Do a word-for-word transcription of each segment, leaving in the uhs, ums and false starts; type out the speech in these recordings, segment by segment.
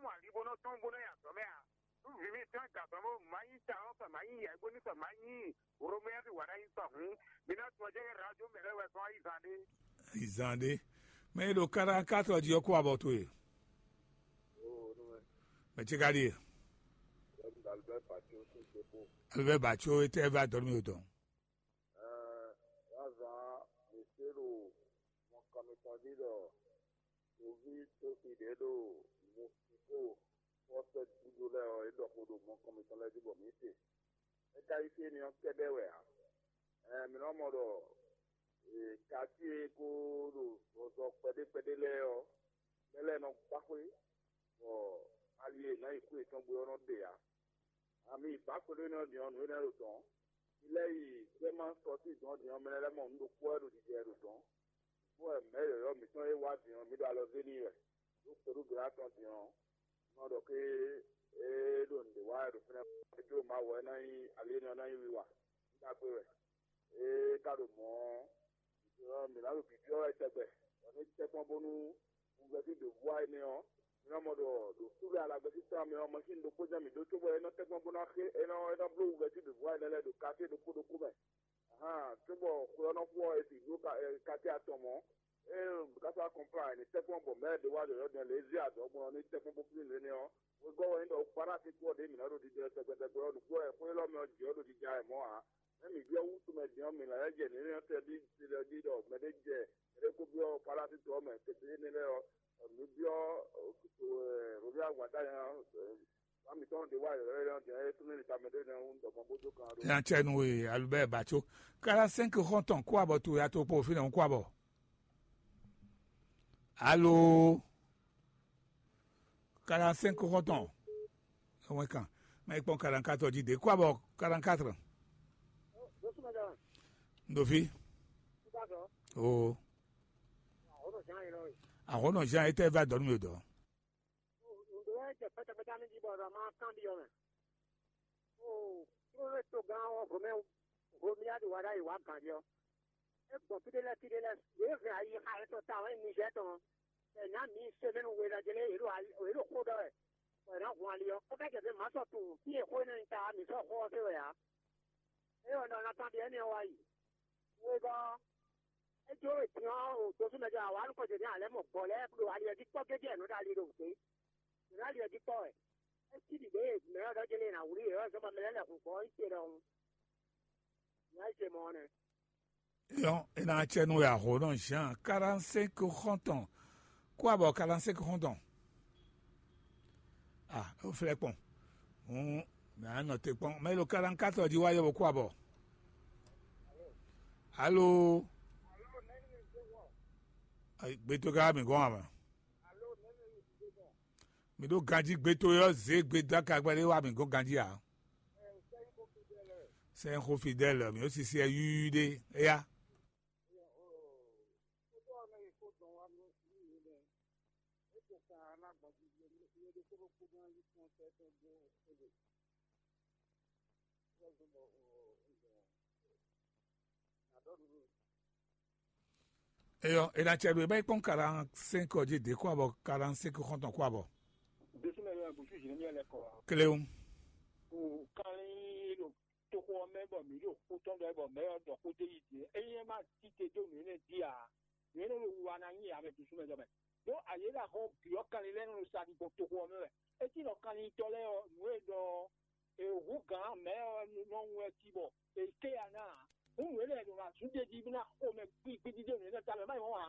mɔ ali bó nɔ́ tɔ́n bó nɔ́ nyi azɔ̌ mɛ ǎ. Nú vǐ mitɔn e gǎn tɔn bó má nyí ta ɔ́, sɔ má nyí yɛ̌gbóní, sɔ má nyí Romɛ́a ví wǎ ná nyí sɔ hǔn, mi ná tunwun ɔ́ jɛ́n nyí radio mɛ lɛ́ɛ wɛ gbɔn ayizán ɖé. Ayizán ɖé. Mɛ e ɖo karán-katɔ jí ɔ́ kó abɔ towe. Mɛ ce ka ɖíe? Alvɛ́ Baco, étɛ́ vɛ́ adɔ̌ nú mì tɔn? Ɛɛ, wá zán mǐ se ɖo mɔkɔn mitɔn jí ɖɔ toví toxi ɖě ɖo Mɛsiko xɔ sɛ́ gúdo lɛ́ɛ ɔ́, é ɖɔ xó ɖo mɔkɔn mitɔn lɛ́ɛ jí bɔ mǐ se. É ka nyí fí énɛ́ ɔ́ kɛ́ɖɛ́ wɛ ǎ. Ɛɛ, mǐ nɔ mɔ ɖɔ katíe e ko ɖo zɔzɔ kpɛɖé kpɛɖé lɛ́ɛ ɔ́, mɛ lɛ́ɛ nɔ gbá xwé, bɔ ali e è nǎ yi xwé yětɔn gbe ɔ́ nɔ ɖe ǎ. Ami yi bǎ xwedó énɛ́ ɔ́ din ɔ́, nǔ énɛ́ ɖo dɔ̌n. Mi lɛ́ yi gbɛ́ ma sɔ́ sín dɔ̌n din ɔ́, mɛ lɛ́ɛ lɛ́ mɔ nǔ ɖokpó wɛ ɖo jijɛ ɖo dɔ̌n. Bó wɛ mɛ̌ yɔ̌yɔ́ mǐtɔn e wá din ɔ́, mǐ ɖo alɔ zé n'i wɛ. Ɖó kpɛɖúgbɛ́ tɔn din ɔ́, nɔ ɖɔ ké é ɖo nǔɖé wa wɛ ɖo fínɛ́. É jló Mawu wɛ é ná nyí ali énɛ́ ɔ́ ná nyí wiwa. Nǔ ɖagbe wɛ. É ka ɖo mɔ̌ ɔ́, mǐ ná ɖo bǐbyɔ́ wɛ tɛgbɛ, bɔ nú tɛ́nkpɔ́n bónú wunvɛ́ fí ɖě vú wá énɛ́ ɔ́, mi nɔ mɔ ɖɔ ɖo súvɛ́ alagbɛ́sí tɔn mɛ ɔ́, mɔsín ɖokpó jɛ́n mǐ ɖó cóbɔ é nɔ tɛ́nkpɔ́n bó ná xé é nɔ é nɔ bló wunvɛ́ fí ɖě vú wá énɛ́ lɛ́ɛ ɖo katé ɖokpó ɖokpó mɛ. Ahan, cóbɔ xwe ɔ́ nɔ xo ɔ́, è sixú ɖó katé atɔn mɔ̌. Ée káfá kɔnplán è nǐ tɛ́nkpɔ́n bɔ mɛ̌ ɖé wá yɔ̌yɔ́ din lě zé azɔ̌ gbɔn ɔ́ ní tɛ́nkpɔ́n bó flín lě nɛ́ ɔ́, wegɔ́ wɛ nyí ɖɔ Ufalási kú ɔ́ ɖě mǐ nɔ́ ɖo ɖiɖe tɛgbɛ tɛgbɛ ɔ́, nǔgbó wɛ xwé élɔ́ mɛ ɔ́ jǐ ɔ́ ɖo jija wɛ mɔ̌ ǎ. Nɛ̌ mǐ byɔ́ wútu mɛ din ɔ́, mǐ lɛ́ jɛ nǔnywɛ́ tɛ́ ɖi ɖi ɖɔ mɛɖé jɛ mɛɖé kó byɔ́ Ufalási to ɔ́ mɛ tɛgbɛ énɛ́ lɛ́ɛ ɔ́, mǐ byɔ́ Romia wǎn ɖ'ayǐ ɔ́, wǎ mǐtɔn ɖě wá yɔ̌yɔ́ din ɔ́, é tlú nú tamɛ ɖé nɛ́ wú ɖɔ gbɔn bó dó kan ɖó. Nya cɛ nu e Albert Batso, quarante-cinq xɔntɔn kó abɔ towe ato kpo fínɛ́ kó abɔ. Alo, quarante-cinq xɔntɔn. Ɛwɔn kan. Mɛ kpɔn quarante-quatre jí de. Kó abɔ quarante-quatre. Dofi. O. Ahɔnɔ Jean etɛ va dɔnu mi dɔ. Ndo wɛ jɛ pɛtɛpɛtɛ mi di bɔ ma kan bi ɔmɛ. O, kúrò tó gán ɔ́, home home ya ɖo wa ɖ'ayǐ wá gǎn ɖi ɔ́. É gbɔn fí ɖé lɛ́ɛ fí ɖé lɛ́ɛ, yě hɛn ayi xa etɔn ta wɛ Nizɛ́ɛ tɔn. Ɛ nǎ mǐ semɛnu we lɛ́ɛ jlé yě ɖo yě ɖo xó ɖɔ wɛ. Bɔ è nǎ hun ali ɔ́, é ka jɛ fí mǎ sɔ́ tunwun fí e xó énɛ́ nyí ta ɔ́, mǐ sɔ́ xó ɔ́ zé wɛ ǎ. É ɔ́ ɖɔ ná tán ɖi énɛ́ ɔ́ wá yi. Wegɔ́ ɔ́, é jó din ɔ́, ɖo tosú mɛ jɔ awǎ nukɔn jɛ din alɛ̌ mɔ gbɔ̌ lɛ́ɛ ɖo ali ɔ́ jí kpɔ́ gédé ɛ nǔ ɖo ali ɖo wǔgbé. Nǔ ɖo ali ɔ́ jí kpɔ́ wɛ. É cí ɖiɖě e mɛ ɔ́ ɖɔ jɛ́n lé ná wlí yě ɔ́ zɔ́n bɔ mɛ lɛ́ɛ lɛ hun gbɔ̌ ɔ́, é ce ɖɔhun. Nǔ e é ce mɔ ɔ́ nɛ́. Yɔn, é ná cɛ nú wɛ ahǒnɔ Jean quarante-cinq xɔntɔn. Kó abɔ quarante-cinq xɔntɔn. Ah, é flɛ́ kpɔn. Hǔn mɛ á nɔ te kpɔn. Mɛ lo quarante-quatre jí wá yɛ bɔ kó abɔ. Alo. Ayi, gbeto ka mi gɔn ama. Mi ɖo ganjí gbeto yɔ zé gbedo akagbɛ ɖé wá mi gɔn ganjí a. Sɛnxɔ Fidèle, mi ó sisi ɛ yúyú ɖé. Éya. Eyɔ, e na cɛ ɖo e ba yi kpɔn quarante-cinq ɔ́ jí dě kó abɔ quarante-cinq xɔntɔn kó abɔ. Desúnmɛ yɔ bùsù jìnnà mi lɛ kɔ. Kelewu. O kanlin ɖo toxo ɔ́ mɛ bɔ mǐ ɖo xó tɔn ɖɔ bɔ mɛ ɔ́ ɖɔ xó dé yi dě. Ényí é má tite dó nǔ énɛ́ jí ǎ, nǔ énɛ́ ɖo wiwa ná nyi ame bùsù mɛ jɔ mɛ. Ɖó ayě ɖo ahɔn bǐ ɔ́ kanlin lɛ́ɛ nɔ sa ɖi gbɔn toxo ɔ́ mɛ wɛ. É cí nɔ kanlintɔ́ lɛ́ɛ ɔ́, nǔ e ɖɔ ɔ́, è hú gǎn mɛ̌ ɔ́ nɔ wɛ cí bɔ è ké ya ná ǎ. Hǔn nǔ énɛ́ ɖo ná zú ɖeji bó ná xo mɛ gbígbídídé nǔ énɛ́ ta mɛ má nyí mɔ̌ ǎ.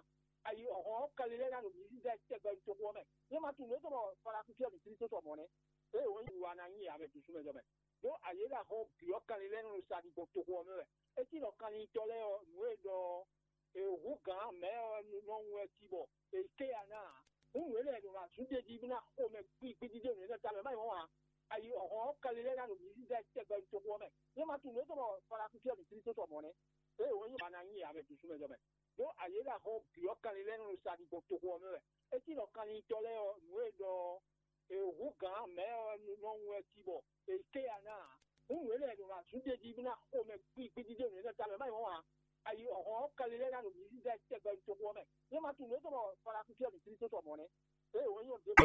Ayi ɔ̀hɔn ɔ́, kanlin lɛ́ɛ ná ɖo mǐ zízá tɛgbɛ toxo ɔ́ mɛ. Yě má tunwun lě tɔn bɔ Falakusi ɔ́ ɖo Klísu sɔ mɔ̌ nɛ́. Ée wǒ nyí wiwa ná nyi ame bǐ sú mɛ jɔ mɛ. Ɖó ayě ɖo ahɔn bǐ ɔ́ kanlin lɛ́ɛ nɔ sa ɖi gbɔn toxo ɔ́ mɛ wɛ. É cí nɔ kanlintɔ́ lɛ́ɛ ɔ́, nǔ e ɖɔ ɔ́, è hú gǎn mɛ̌ ɔ́ nɔ wɛ cí bɔ è ké ya ná ǎ. Hǔn nǔ énɛ́ ɖo ná zú ɖeji bó ná xo mɛ gbígbídídé nǔ énɛ́ ta mɛ má nyí mɔ̌ ǎ. Ayi ɔ̀hɔn ɔ́, kanlin lɛ́ɛ ná ɖo mǐ zízá tɛgbɛ toxo ɔ́ mɛ. Yě má tunwun lě tɔn bɔ Falakusi ɔ́ ɖo Klísu sɔ mɔ̌ nɛ́. Ée wǒ nyí wiwa ná nyi ame bǐ sú mɛ jɔ mɛ. Ɖó ayě ɖo ahɔn bǐ ɔ́ kanlin lɛ́ɛ nɔ sa ɖi gbɔn toxo ɔ́ mɛ wɛ. É cí nɔ kanlintɔ́ lɛ́ɛ ɔ́, nǔ e ɖɔ ɔ́, è hú gǎn mɛ̌ ɔ́ nɔ wɛ cí bɔ è ké ya ná ǎ. Hǔn nǔ énɛ́ ɖo ná zú ɖeji bó ná xo mɛ gbígbídídé nǔ énɛ́ ta mɛ má nyí mɔ̌ ǎ. Ayi ɔ̀hɔn ɔ́, kanlin lɛ́ɛ ná ɖo mǐ zízá tɛgbɛ toxo ɔ́ mɛ. Yě má tunwun lě tɔn bɔ Falakusi ɔ́ ɖo Klísu sɔ mɔ̌ nɛ́. Ée wǒ nyí ɔ́ ɖěbǔ